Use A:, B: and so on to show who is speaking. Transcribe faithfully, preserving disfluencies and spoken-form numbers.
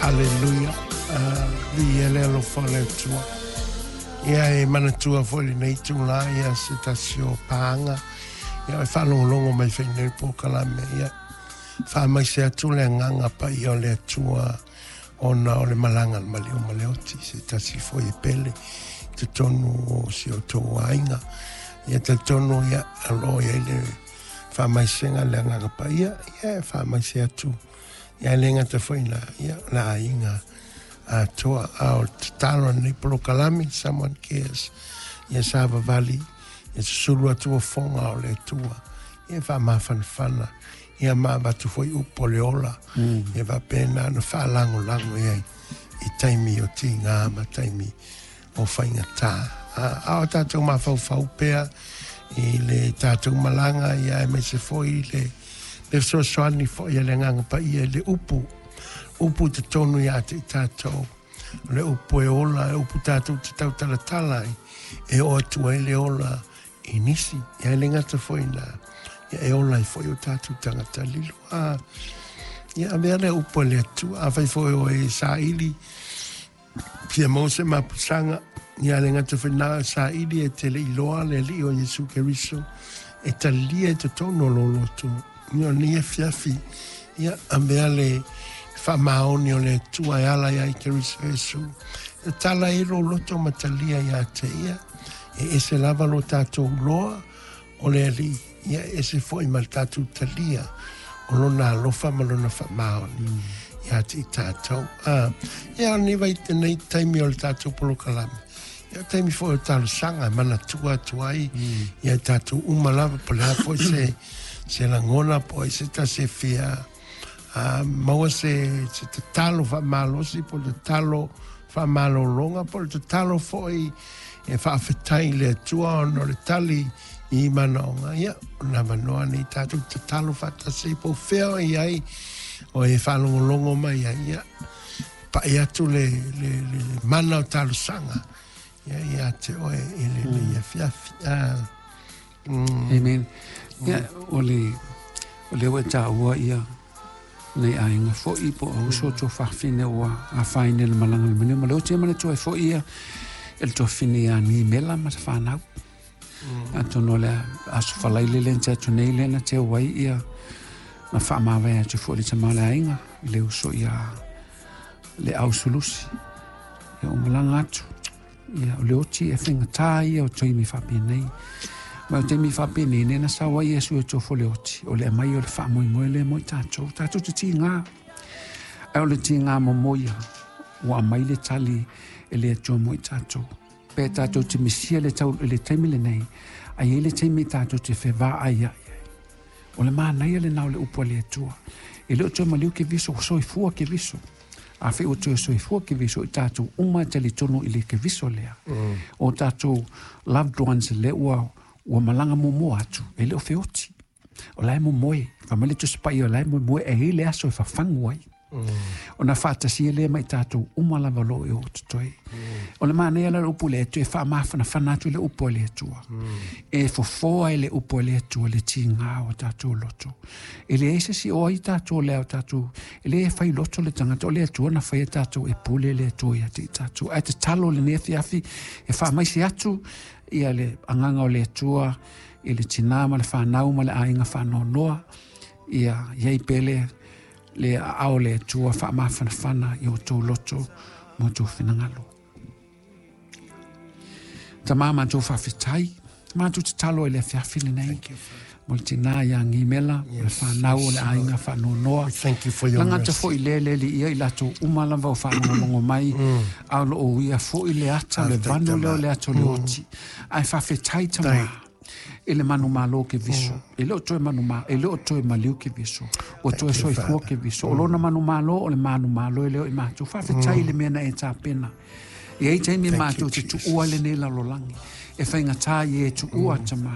A: Hallelujah. Viia le alofa o le Atua. Ia e manatua foi lenei itulā ia se tasi o paaga ia e faalogologo mai foi i lenei polokalame. Ia faamaise atu le agaga paia o le Atua ona o le malaga a le maliu ma le oti, se tasi foi e pele i totonu o si o outou aiga. Ia talitonu ia o lo o i ai le faamaisega le agaga paia, ia e faamaise atu ia e le gata foi i ina ia o le aiga atoa. A o le tatalo a lenei polokalame Someone Cares, ia savavali ia susulu atu ofoga o le Atua, ia faamafanafana ia ma avatu foi upu o le ola ia faapena ona faalagolago i ai i taimi o tigā ma taimi o faigata. A o tatou mafaufau pea i le tatou malaga ia aemaise foi le le fesoasoani foi a le agaga paia i le upu upu i totonu ia te i tatou, o le upu e ola, e upu tatou te tautalatala ai e oo atu ai le ola i nisi ia e le gata foi i ina ia e ola ai foi o tatou tagata lilo. A ia avea le upu a le Atua, afai foi o e saili fia maua se mapusaga ia le gata foi ina saili e te le iloa le Alii o Iesu Keriso e talia i totonu o lou loto. Ia o lenei afiafi ia avea le faamaoni o le Atua e ala ia i Keriso Iesu e tala ai lou loto ma talia ia te ia. E ese lava lo tatou loa o le Alii, ia e ese foi ma le tatou talia o lona alofa ma lona faamaoni ia te i tatou. A ia o lenei vai lenei taimi o le tatou polokalame, ia o taimi foi o talosaga e manatua atu ai ia i tatou uma lava po o le a foi se se lagona po o ai se tasi e fia a maua se se tatalo faamalosi po o le tatalo faamalologa po o le tatalo foi e faafetai i le Atua ona o le tali i manaoga. Ia o le avanoa lenei tatou tatalo faatasi po o fea o i ai o e faalogologo mai ai, ia pai atu le, le, le mana o talosaga ia ia te oe i lenei afiafi. Ah, mm.
B: Amen. Ia, o le, o lea ua e taua ia nei aiga foi po o uso o tuafafine ua afaina i le malaga a le maliu ma le oti. E manatua ai foi ia e le tuafafine ia Gimela ma sa fanau. Atonu o le aso Faraile lea na tea atu nei lea na teu ai ia na faamavae atu foi le tama o le aiga i le uso ia le ausulusi. Ia ua malaga atu. Ia o le oti e faigata ia o taimi faapenei. Ma o taimi faapenei nei na sau ai Iesu e tofo le oti. O le aumai o le faamoemoe lea mo i tatou. Tatou te tiga. Ae o le tiga momoia ua aumai le tali e le Atua mo i tatou. Pe tatou te misia le, tau, le taimi lenei, ae i ai le taimi tatou te fevaai ai ai. O le manaia lena o le upu a le Atua. E le o toe maliu Keriso, ua soifua Keriso. Afai ua toe soifua Keriso i tatou uma e talitonu i le Keriso lea. Mm. O tatou loved ones lea ua, ua malaga muamua atu, e le o feoti. O la e momoe, fai mai le Tusi Paia o la e moemoe e i ai le aso e fafagu ai. Mm. Ona faatasia lea ma i tatou uma lava o lo o i o totoe. Mm. O le manaia la o le upu le Atua e faamafanafana atu le upu a le Atua. Mm. E fofoa e le upu a le Atua le tiga o tatou loto. E leai se isi o ai tatou lea o tatou, e le fai loto le tagata, o le Atua na faia tatou e pule le Atua ia te i tatou. Ae tatalo lenei afiafi e faamaise atu ia le agaga o le Atua i le tina ma le fanau ma le aiga faanoanoa, ia iai pea le le aao o le Atua faamafanafana i o outou loto ma outou finagalo. Tama matou faafetai, matou tatalo i le afiafi lenei. Mo le tina ia Gimela, o le fanau o le aiga faanoanoa.
A: Thank you for your
B: Lagata
A: mercy.
B: foi le le li ia i latou uma lava o faalogologo mai, a o lo o uia foi le ata, le vanu lea o le ata o le oti. Ae faafetai tama i le manumalo Keriso. E le o toe manuma, e le o toe maliu Keriso. Ua toe soifua Keriso. O lona manumalo o le manumalo e leo i matou. Faafetai i le mea na e tapena. E ai taimi matou te tuua lenei lalolagi. E faigata i e tuua tama.